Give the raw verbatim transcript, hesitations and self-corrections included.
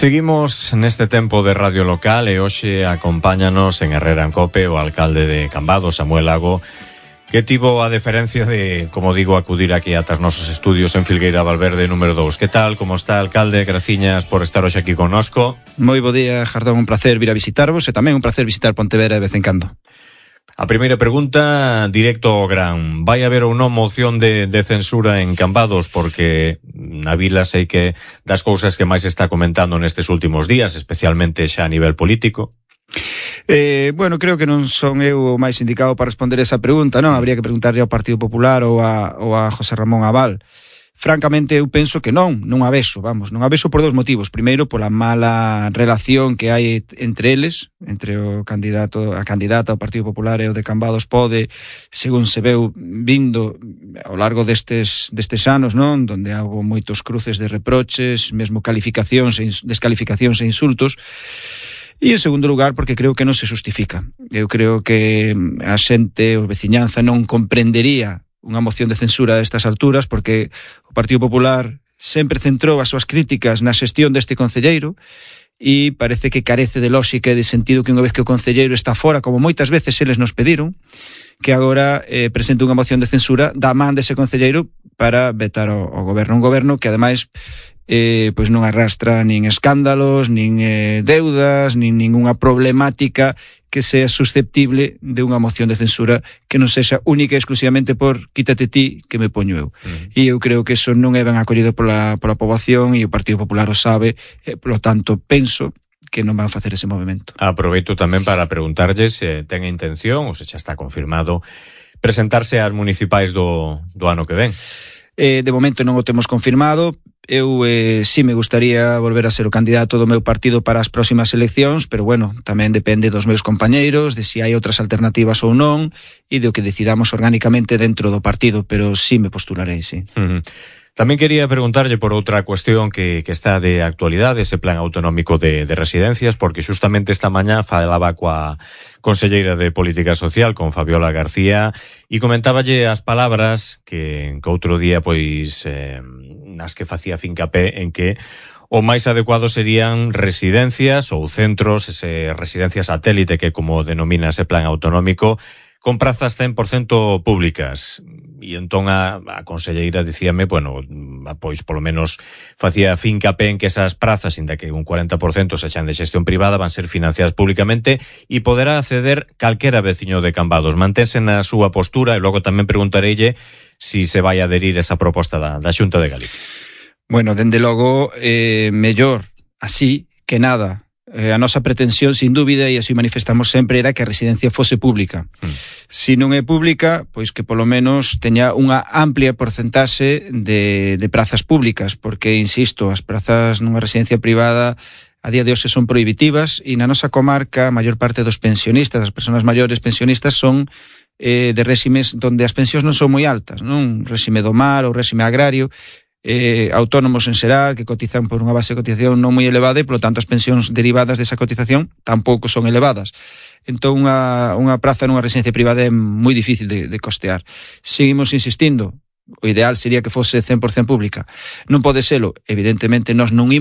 Seguimos neste tempo de radio local e hoxe acompáñanos en Herrera en Cope o alcalde de Cambados, Samuel Lago, que tivo a deferencia de, como digo, acudir aquí ata os nosos estudios en Filgueira Valverde número dous. Que tal? Como está, alcalde? Graciñas por estar hoxe aquí connosco. Moi bo día, Jardón, un placer vir a visitarvos e tamén un placer visitar Pontevedra de vez en cando. A primeira pregunta, directo ao gran. Vai haber ou non moción de, de censura en Cambados? Porque na vila sei que das cousas que máis está comentando nestes últimos días, especialmente xa a nivel político. Eh, bueno, creo que non son eu o máis indicado para responder esa pregunta, non? Habría que preguntarle ao Partido Popular ou a, ou a José Ramón Abal. Francamente, eu penso que non, non a vexo, vamos, non a vexo por dous motivos. Primeiro, pola mala relación que hai entre eles, entre o candidato, a candidata ao Partido Popular e o de Cambados Pode, según se veu vindo ao largo destes, destes anos, non? Donde houve moitos cruces de reproches, mesmo calificacións, descalificacións e insultos. E en segundo lugar, porque creo que non se justifica. Eu creo que a xente, o veciñanza, non comprendería unha moción de censura a estas alturas, porque o Partido Popular sempre centrou as súas críticas na xestión deste concelleiro e parece que carece de lógica e de sentido que unha vez que o concelleiro está fora, como moitas veces eles nos pediron, que agora eh, presente unha moción de censura da man dese concelleiro para vetar o, o goberno. Un goberno que, ademais, eh, pois non arrastra nin escándalos, nin eh, deudas, nin ningunha problemática que sea susceptible de unha moción de censura que non sexa única e exclusivamente por quítate ti que me poño eu. Uh-huh. E eu creo que eso non é ben acollido pola, pola poboación e o Partido Popular o sabe, e, polo tanto, penso que non van facer ese movimento. Aproveito tamén para preguntarlle se ten a intención, ou se xa está confirmado, presentarse ás municipais do, do ano que ven. Eh, de momento non o temos confirmado. Eu eh, sí me gustaría volver a ser o candidato do meu partido para as próximas eleccións, pero bueno, tamén depende dos meus compañeiros, de se si hai outras alternativas ou non, e do que decidamos orgánicamente dentro do partido, pero sí me postularei, sí. Uh-huh. Tamén quería preguntarlle por outra cuestión que, que está de actualidade, ese plan autonómico de, de residencias, porque justamente esta mañá falaba coa conselleira de Política Social, con Fabiola García, e comentáballe as palabras que, que outro día, pois, eh, nas que facía fincapé en que o máis adecuado serían residencias ou centros, ese residencias satélite que como denomina ese plan autonómico, con prazas cen por cento públicas. E entón a, a conselleira dicíame, bueno, pois polo menos facía fincapé en que esas prazas, inda que un cuarenta por cento sexan de xestión privada, van ser financiadas públicamente e poderá acceder calquera veciño de Cambados. Mantense na súa postura e logo tamén preguntareille si se vai adherir esa proposta da, da Xunta de Galicia. Bueno, dende logo, eh, mellor así que nada. Eh, a nosa pretensión, sin dúbida, e así manifestamos sempre, era que a residencia fose pública. Mm. Se non é pública, pois que polo menos teña unha amplia porcentaxe de, de prazas públicas, porque, insisto, as prazas nunha residencia privada a día de hoxe son prohibitivas e na nosa comarca a maior parte dos pensionistas, as persoas maiores pensionistas, son eh, de réximes donde as pensións non son moi altas, non? Réxime do mar ou réxime agrario, Eh, autónomos en xeral que cotizan por unha base de cotización non moi elevada e, polo tanto, as pensións derivadas desa cotización tampouco son elevadas. Entón, unha, unha praza nunha residencia privada é moi difícil de, de costear. Seguimos insistindo, o ideal sería que fose cen por cento pública. Non pode selo, evidentemente, nós non imos